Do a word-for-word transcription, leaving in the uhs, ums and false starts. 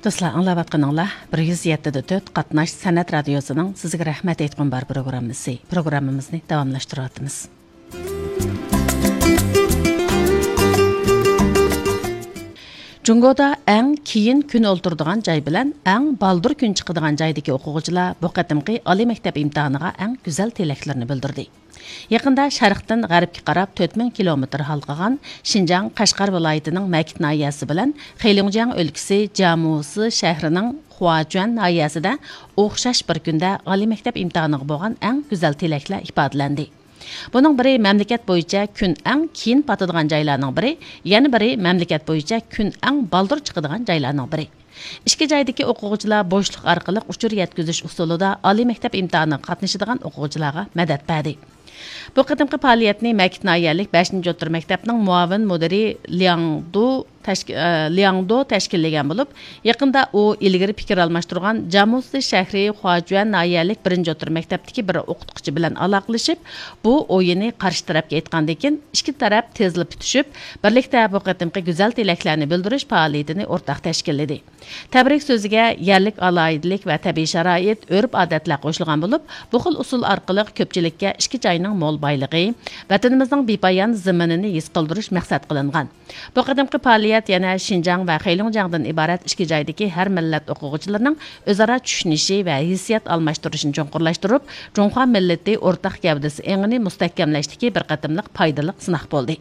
دوستلار، ئاڭلاۋاتقىنىڭلار بىر يۈز يەتتە دە تۆت قاتناش سەنئەت رادىيوسىنىڭ سىزگە رەھمەت ئېيتقۇم بار پروگراممىسى. پروگراممىمىزنى داۋاملاشتۇرۇۋاتىمىز. جۇڭگودا ئەڭ كېيىن كۈن ئولتۇرىدىغان جاي بىلەن ئەڭ بالدۇر كۈن چىقىدىغان جايدىكى ئوقۇغۇچىلار بۇ قېتىمقى ئالىي مەكتەپ ئىمتىھانىغا ئەڭ گۈزەل تىلەكلىرىنى بىلدۈردى. يېقىندا شەرقتىن غەربكە قاراپ تۆت مىڭ كىلومېتىر ھالقىغان شىنجاڭ قەشقەر ۋىلايىتىنىڭ مەكىت ناھىيەسى بىلەن خېيلۇڭجياڭ ئۆلكىسى جيامۇسى شەھىرىنىڭ خۇاجۈەن ناھىيەسىدە ئوخشاش بىر كۈندە ئالىي مەكتەپ ئىمتىھانىغا بولغان ئەڭ گۈزەل تىلەكلەر ئىپادىلەندى. بۇنىڭ بىرى مەملىكەت بويىچە كۈن ئەڭ كېيىن پاتىدىغان جايلارنىڭ بىرى، يەنە بىرى مەملىكەت بويىچە كۈن ئەڭ بالدۇر چىقىدىغان جايلارنىڭ بىرى. ئىككى جايدىكى ئوقۇغۇچىلار بوشلۇق ئارقىلىق ئۇچۇر يەتكۈزۈش ئۇسۇلىدا ئالىي مەكتەپ ئىمتىھانىغا قاتنىشىدىغان ئوقۇغۇچىلارغا مەدەت بەردى. بۇ قېتىمقى پائالىيەتنى مەكىت ناھىيەلىك بەشىنچى ئوتتۇرا مەكتەپنىڭ مۇئاۋىن مۇدىرى لياڭ دۇ تەشك-، ئە، لياڭ دو تەشكىللىگەن بولۇپ، يېقىندا ئۇ ئىلگىرى پىكىر ئالماشتۇرغان جامۇسى شەھىرى خۇاجۈەن ناھىيەلىك بىرىنچى ئوتتۇرا مەكتەپتىكى بىر ئوقۇتقۇچى بىلەن ئالاقىلىشىپ، بۇ ئويىنى قارشى تەرەپكە ئېيتقاندىن كېيىن، ئىككى تەرەپ تېزلا پۈتۈشۈپ، بىرلىكتە بۇ قېتىمقى گۈزەل تىلەكلەرنى بىلدۈرۈش پائالىيىتىنى ئورتاق تەشكىللىدى. تەبرىك سۆزىگە يەرلىك ئالاھىدىلىك ۋە تەبىئىي شارائىت، ئۆرپ-ئادەتلەر قوشۇلغان بولۇپ، بۇ خىل ئۇسۇل ئارقىلىق كۆپچىلىككە ئىككى جاينىڭ مول بايلىقى، ۋەتىنىمىزنىڭ بىپايان زېمىنىنى ھېس قىلدۇرۇش مەقسەت قىلىنغان. بۇ قېتىمقى پائالىيەت يەنە شىنجاڭ ۋە خېيلۇڭجياڭدىن ئىبارەت ئىككى جايدىكى ھەر مىللەت ئوقۇغۇچىلىرىنىڭ ئۆزئارا چۈشىنىشى ۋە ھېسسىيات ئالماشتۇرۇشىنى چوڭقۇرلاشتۇرۇپ، جۇڭخۇا مىللىتى ئورتاق گەۋدىسى ئېڭىنى مۇستەھكەملەشتىكى بىر قېتىملىق پايدىلىق سىناق بولدى.